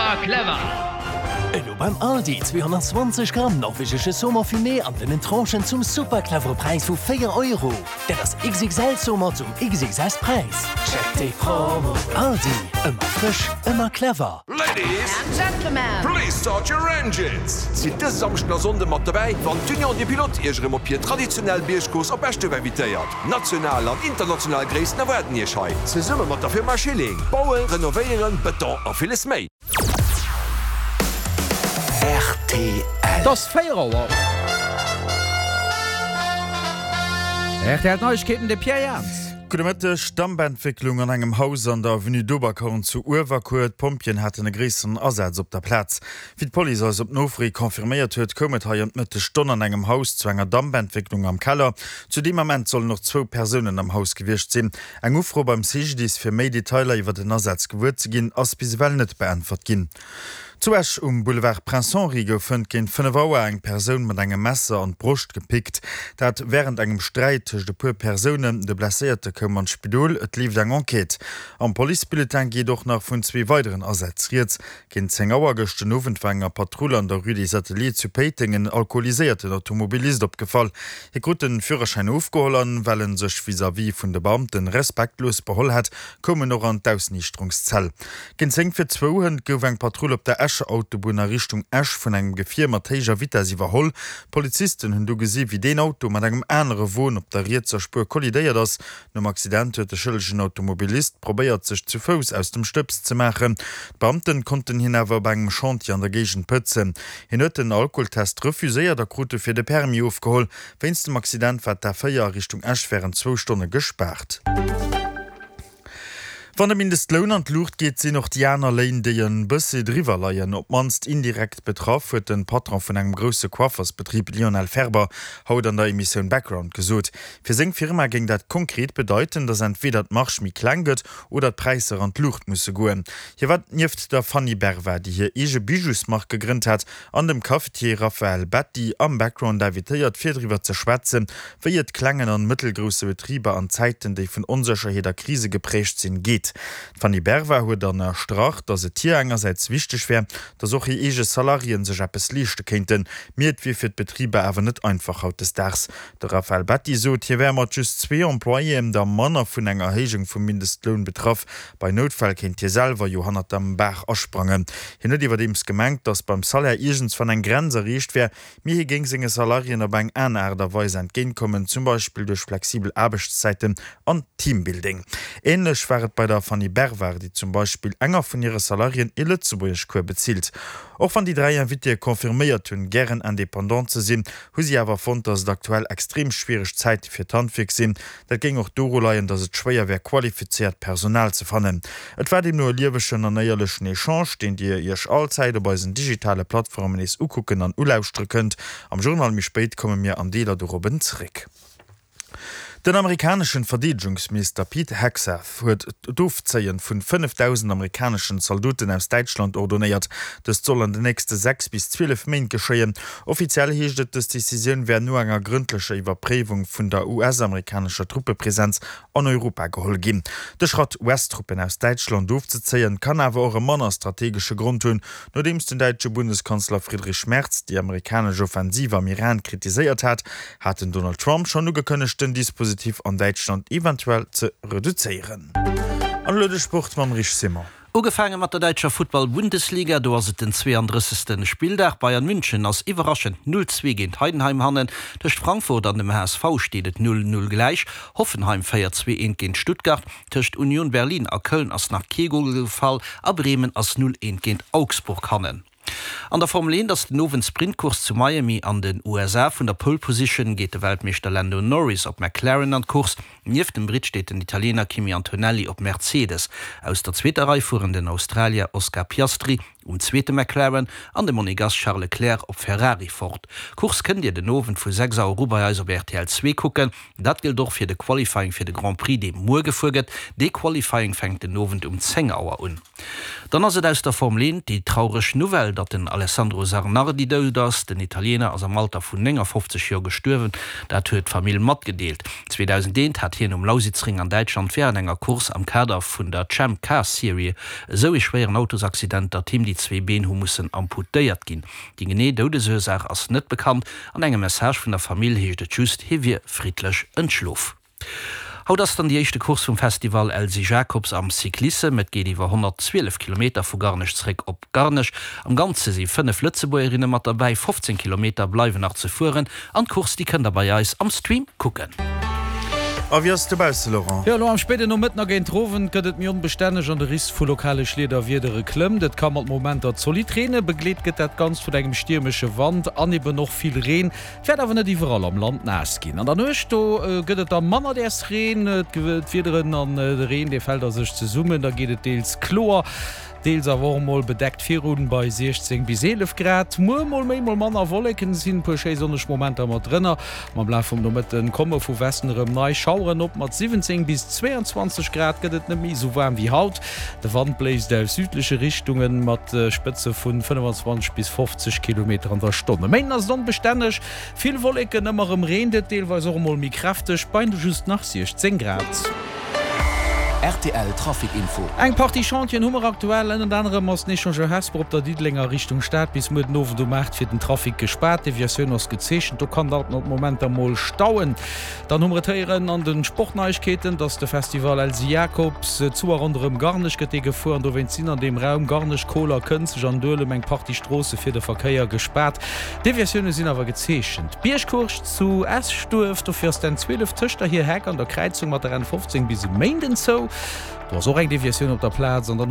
Super clever! Elo beim Aldi 220 Gramm norwegesche Saumon fumé an dënnen Tranchen zum super clevere Präis vu 4 Euro. Dat ass XXL Saumon zum XXS Präis. Check déi Promo! Aldi, ëmmer frësch, ëmmer clever. Ladies and Gentlemen, please start your engines! Sidd dëse Samschden a Sonnde mat dobäi, wann d'Union des Pilotes Iech erëm op hir traditionell Biergcourse op Eschduerf invitéiert. National an international Gréissten erwaarden Iech hei, zesumme mat der Firma Schilling. Bauen, renovéieren, Bëton a villes méi. Rtl. Et ass 4 Auer. Rtl Neiegkeeten, de Pierre Jans. Gudde Mëtteg. Dampentwécklung an engem Haus an der Avenue d'Oberkorn zu Uewerkuer. D'Pompjeeën haten e gréisseren Asaz op der Plaz. Wéi d'Police eis op Nofro hi confirméiert huet, koum et hei ëm d'Mëttesstonn an engem Haus zu enger Dampentwécklung am Keller. Zu deem Ament sollen och zwou Persounen am Haus gewiescht sinn. Eng Ufro beim CGDIS fir méi Detailer iwwer den Asaz gewuer ze ginn, ass bis ewell net beäntwert ginn. Zu Esch um Boulevard Prince Henri gouf hënt géint 5 Auer eng Persoun mat engem Messer an d'Broscht gepickt. Dat wärend engem Sträit tëscht e puer Persounen. De Blesséierte koum an d'Spidol, et leeft eng Enquête. Am Policebulletin geet och nach vun zwee weideren Asätz rieds. Géint 10 Auer gëscht den Owend war enger Patrull an der Rue des Ateliers zu Péiteng en alkoholiséierten Automobilist opgefall. Hie krut den Führerschäin ofgeholl an well en sech vis-à-vis vun de Beamten respektlos beholl hat, koum en och an d'Ausniichterungszell. Géint 10 vir zwou hënt gouf eng Patrull op der Escher Autobunn a Richtung Esch vun engem Gefier mat héijer Vitess iwwerholl. D'Polizisten hunn du gesi wéi deen Auto mat engem anere Won op der rietser Spuer kollidéiert ass. Nom Accident huet de schëllegen Automobilist probéiert, sech zu Fouss aus dem Stëbs ze maachen. D'Beamten konnten hien awer op engem Chantier an der Géigend pëtzen. Hien huet den Alkoholtest refuséiert a krut dofir de Permis ofgeholl. Wéinst dem Accident war d'A4 a Richtung Esch wärend zwou Stonne gespaart. Wann de Mindestloun an d'Luucht geet, sinn och déi aner Léin, déi e bëssi driwwer leien, op d'mannst indirekt betraff, huet de Patron vun engem grousse Coiffersbetrib Lionel Ferber haut an der Emissioun Background gesot. Fir seng Firma géing dat konkret bedeiten, datt entweeder d'Marge méi kleng gëtt oder d'Präisser an d'Luucht musse goen. Hie war nieft der Fanny Berva, déi hir eege Bijousmark gegrënnt hat, an dem Cafetier Raphaël Betti am Background invitéiert fir driwwer ze schwätzen, wéi et klengen an mëttelgrousse Betriber an Zäiten, déi vun Onsécherheet a Krise geprägt sinn, geet. D'Fanny Berva huet ënnerstrach, datt et hir engersäits wichteg wär, datt och hir eege Salariéen sech eppes leeschte kéinten, mee et wier fir d'Betriber awer net einfach hautdesdaags. De Raphaël Betti sot, hie wär mat just zwee Employéen der manner vun enger Erhéijung vum Mindestloun betraff. Bei Noutfäll kéint hie selwer jo hannert der Baach asprangen. Hien huet iwwerdeems gemengt, datt beim Salaire iergendswann eng Grenz erreecht wär, mee hie géing senge Salariéen op eng aner Aart a Weis entgéintkommen, zum Beispill duerch flexibel Aarbechtszäiten an Teambuilding. Änlech war et bei der Fanny Bervard, déi zum Beispill enger vun hire Salariéen ee Lëtzebuergeschcours bezilt. Och wann déi 3 Invitéë confirméiert hunn, gären Independant ze sinn, hu si awer fonnt, datt et aktuell extrem schwiereg Zäite fir d'Handwierk sinn. Dat géing och doru leien, datt et schwéier wär, qualifizéiert Personal ze fannen. Et war deemno e liewegen an éierlechen Echange, deen Dir Iech allzäit op eisen digitale Plattformen nees ukucken an ulauschtere kënnt. Am Journal méi spéit komme mir an Deeler dorobben zeréck. Den amerikaneschen Verdeedegungsminister Pete Hegseth huet d'Ofzéien vun 5.000 amerikaneschen Zaldoten aus Däitschland ordonéiert. Dëst soll an den nächste 6 bis 12 Méint geschéien. Offiziell heescht et, dës Decisioun wär no enger grëndlecher Iwwerpréiwung vun der US-amerikanescher Truppepresenz an Europa geholl ginn. De Schratt, US-Truppen aus Däitschland ofzezéien, kann awer och e manner strategesche Grond hunn, Nodeems den däitsche Bundeskanzler Friedrich Merz déi amerikanesch Offensiv am Iran kritiséiert hat, hat den Donald Trump schonn ugekënnegt, den Dispositif an Däitschland eventuell ze reduzéieren. An elo de Sport mam Rich Simon. Ugefaange mat der däitscher Futtball-Bundesliga, do ass et den 32. Spilldag. Bayern München ass iwwerraschend 0, 2 géint Heidenheim hannen. Tëscht Frankfurt an dem HSV steet et 0, 0 gläich. Hoffenheim féiert 2, 1 géint Stuttgart. Tëscht Union Berlin a Köln ass nach kee Gol gefall a Bremen ass 0, 1 géint Augsburg hannen. An der Formel 1 ass den Owend d'Sprintcourse zu Miami an den USA. Vun der Pole Position geet de Weltmeeschter Lando Norris op McLaren an d'Course. Nieft dem Britt steet den Italiener Kimi Antonelli op Mercedes. Aus der zweeter Rei fueren den Australier Oscar Piastri um zweete McLaren an de Monegass Charles Leclerc op Ferrari fort. D'Course kënnt Dir den Owend vu 6 Auer u bei eis op rtl 2 kucken. Dat gëllt och fir de Qualifying fir de Grand Prix, dee muer gefuer gëtt. Dee Qualifying fänkt den Owend um 10 Auer un. Dann ass et aus der Formel 1 déi traureg Nouvelle, datt den Alessandro Zanardi dout ass. Den Italiener ass am Alter vun 59 Joer gestuerwen, dat huet d'Famill matgedeelt. 2001 hat hien um Lausitzring an Däitschland wärend enger Course am Kader vun der Champ Car Serie esou ee schwéieren Autosaccident, datt him déi. Déi zwee Been hu mussen amputéiert ginn. Déi genee Doudesursaach ass net bekannt. An engem Message vun der Famill heescht et just, hie wier friddlech entschlof. Haut ass dann déi éischte Course vum Festival Elsy Jacobs am Cyclissem. Et geet iwwer 112 Kilometer vu Garnech zeréck op Garnech. Am Ganze si 5 Lëtzebuergerinne mat derbäi. 15 Kilometer bleiwen nach ze fueren an d'Course déi kënnt der bei eis am Stream kucken. A wéi ass et dobausse, Laurent? Jo, elo am spéiden Nomëtten a géint Owend gëtt et méi onbestänneg an de Risk vu lokale Schliederwiedere klëmmt. Et ka mat Momenter zolidd reenen, begleet gëtt dat Ganzt vun engem stiermesche Wand an eben och vill Reen. Et wäert awer net iwwerall am Land naass ginn. An der Nuecht do gëtt et da manner däers Reen, d'Wiederen an de Reen dee fält a sech zesummen, da geet et deels kloer. Deels awer och mol bedeckt virun bei 16 bis 11 Grad. Muer mol méi, mol manner Wolleken, et sinn e puer schéi sonneg Momenter mat drënner. Ma am Laf vum Nomëtten komme vu Westen erëm nei Schaueren op. Mat 17 bis 22 Grad gëtt et net méi esou waarm wéi haut. De Wand bléist aus südleche Richtunge mat Spëtze vun 25 bis 50 Kilometer an der Stonn. E Méinden ass et onbestänneg, vill Wolleken, ëmmer erëm reent et, deelweis och emol méi kräfteg, bei just nach 16 Grad. Rtl Trafic Info. Eng Partie Chantieren hu mer aktuell. Ënnert anerem ass den Echangeur Hesper op der Diddelenger Richtung Stad bis muer den Owend um 8 fir den Trafic gespaart. D'Deviatioun ass gezeechent, do kann alt mat Momenter mol stauen. Dann hu mer et héieren an de Sportneiegkeeten, dass de Festival Elsy Jacobs zu a ronderëm Garnech gëtt dee gefuer an dowéinst sinn an deem Raum Garnech, Koler, Kënzeg an Duelem eng Partie Stroosse fir de Verkéier gespaart. Deviatioune sinn awer gezeechent. D'Biergcourse zu Eschduerf, dofir ass d'N 12 tëscht der Hierheck an der Kräizung mat der N 15 bis e Méinden zou. Do ass och eng Deviatioun op der Plaz. An dann.